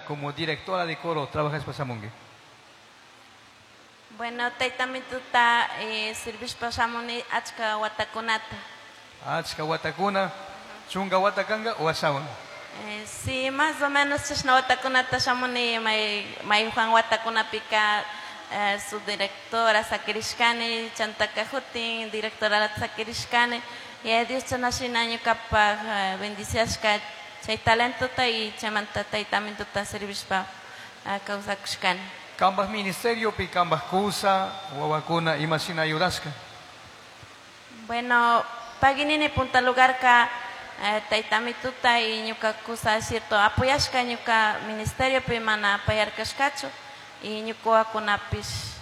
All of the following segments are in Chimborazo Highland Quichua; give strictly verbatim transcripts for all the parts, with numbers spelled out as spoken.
Como directora de coro trabajashpa shamunki. Bueno, taytamituta eh, servishpa shamuni achka watakunata. Achka watakuna, chunka wata kanka o ashawan. Eh, sí, más o menos chashna watakunata shamuni may mayhuan watakunapika eh, su directora sakirishkani chantaka hutin directora sakirishkani y Dios chana shina ñukapaj eh, bendiciashka chay talentota y chaymanta taytamituta servishpa eh, kawsakushkani. Kambaj ministerio pi kambaj kusa, wawakuna ima shina ayudashka. Bueno, paginini punta lugarka eh, taytamituta y ñuka kusa cierto apoyashka ñuka ministerio pi mana apayarkashkachu y ñuka wawakunapish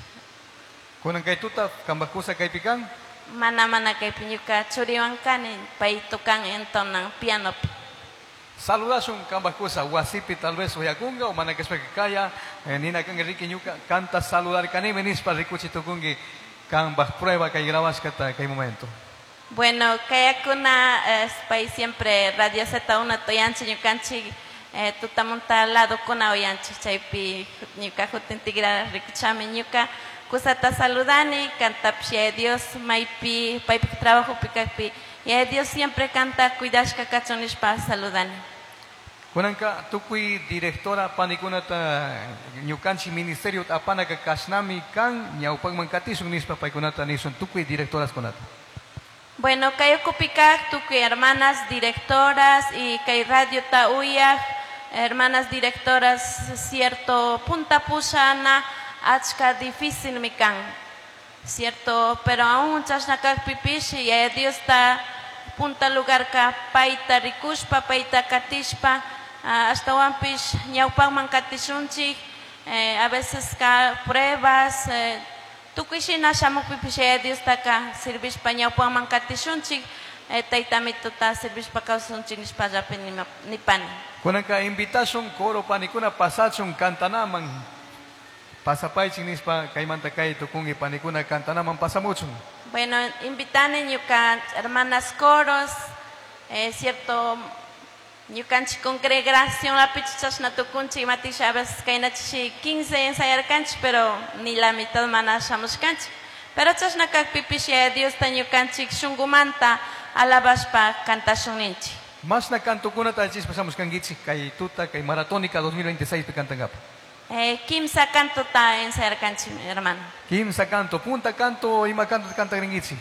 Kunan kay tuta kambaj kusa kaypi kan. Mana mana kaypi ñuka churiwan kani pay tocan entonan pianopi. Saludashun kambaj kusa wasipi tal vez uyakunga o mana kashpaka kaya eh, nina kan Enrique ñuka kanta saludar kanimi nishpa rikuchi tukunki kambaj prueba kay grabashkata kay momento. Bueno, kayakuna eh, pay siempre Radio Z uno uyanchik ñukanchik eh, tutamunta ladokuna uyanchik chaypi ñuka hutin tigra rikuchami ñuka kusata saludani kantapish Yaya Dios maypi paypak trabajopi kakpi Yaya Dios siempre kanta cuidashka kachun nishpa saludani. Kunanka tukuy directora panikunata ñukanchik ministerio apanaka kashnami kan ñawpakman katishun nishpa paykunata nishun tukuy directoras kunata. Bueno, kay ukupi kak tukuy hermanas directoras y kay radio ta uyaj hermanas directoras cierto punta pushana achka difícil mi kan cierto pero aún chashna kakpipish Yaya Dios ta punta lugarka payta rikushpa payta katishpa ah, ashtawanpish ñawpakman katishunchik eh, a veces ka pruebas eh, tukuy shina shamukpipish Yaya Diostaka servishpa ñawpakman katishunchik eh, taytamituta servishpa kawsunchik nishpallapi nima- nipani. Kunanka invitashun coro panikuna pasachun kantanaman pasapaychik nishpa kaymanta kay tukunki panikuna kantanaman pasamuchun. Bueno, invitani ñuka hermanas coros, eh, cierto, ñukanchik congregación lapichi chashna tukunchik imatisha a veces kaynachishi quince ensayarkanchik, pero ni la mitad mana shamushkanchik. Pero chashna kakpipish Yaya Diosta ñukanchik shunkumanta alabashpa kantashun ninchik. Mashna kantukunata allichishpa shamushkankichik kay tuta kay maratónica dos mil veintiséis pi kantankapa. Eh, kimsa kantota ensayarkanchik, hermano. Kimsa canto, punta canto, ima canto cantagrinkichik.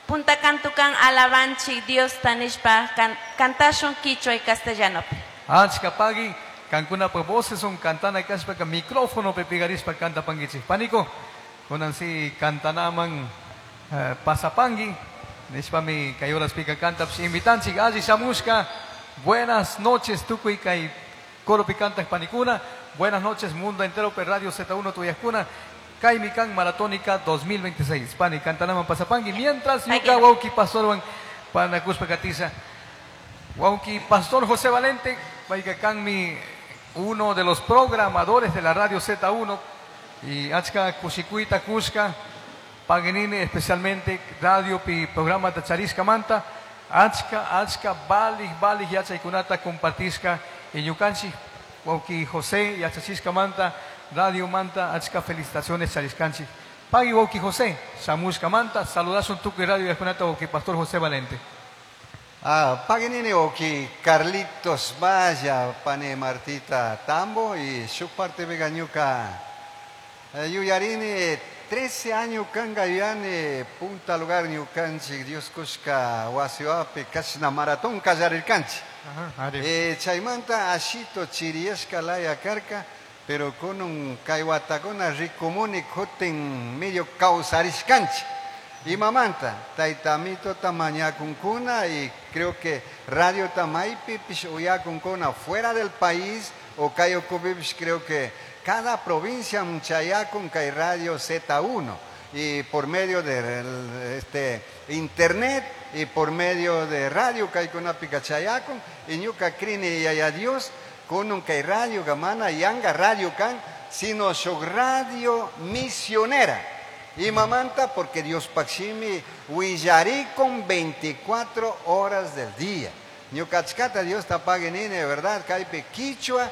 Punta canto kan alabanchik Diosta nishpa kan, kantashun quichua y castellanopi. Achka pagui, kankunapa voces son cantana kashpaka micrófono pe pigarishpa cantapankichik. Panico, kunan si kantanaman, eh, pasapangui, nishpami kay horas pika cantapsh invitanchik alli shamushka. Buenas noches tukuy kay coro pi cantak panikuna. Buenas noches mundo entero per Radio Z uno tuyakuna. Kaymi kan Maratónica dos mil veintiséis. Pani kantanaman pasapangui. Mientras Ay, ñuka qué wauki pastorwan panakuspa katisa. Wauki Pastor José Valente, payka kanmi uno de los programadores de la Radio Z uno y achka kushikuita kushka paginini especialmente radio pi programa tacharishka manta achka achka balij balij yachaykunata compartishka y ñukanchik wauki José yachachishka manta radio manta achka felicitaciones charishkanchik. Pagui wauki José shamushka manta saludasun tukuy radio yachkunata wauki Pastor José Valente. Ah, paginini wauki Carlitos Valla, pane Martita Tambo y su parte vegañuca. Eh, yuyarini trece años kanga yuyani punta lugar ñukanchik Dios kushka wasiwapi kashna maratón kallarirkanchik. Ajá, ari. Eh, chaymanta ashito chiriyashka laya karka, pero con un kaywatakuna rikumuni kutin medio kawsarishkanchik. Y mamanta, taytamito tamañakunkuna y creo que radio tamaypi pish uyakunkuna fuera del país o kayokupipis creo que cada provincia muchayakun kay radio Z uno y por medio de este, internet y por medio de radio kaykunapi kachayakun y ñuka krini yaya Dios con un kay radio gamana yanga radio kan sino su radio misionera. Y mamanta, porque Dios paximi huillaricon veinticuatro horas del día. Ñucachcata Dios tapague nene, ¿verdad? Caipe quichua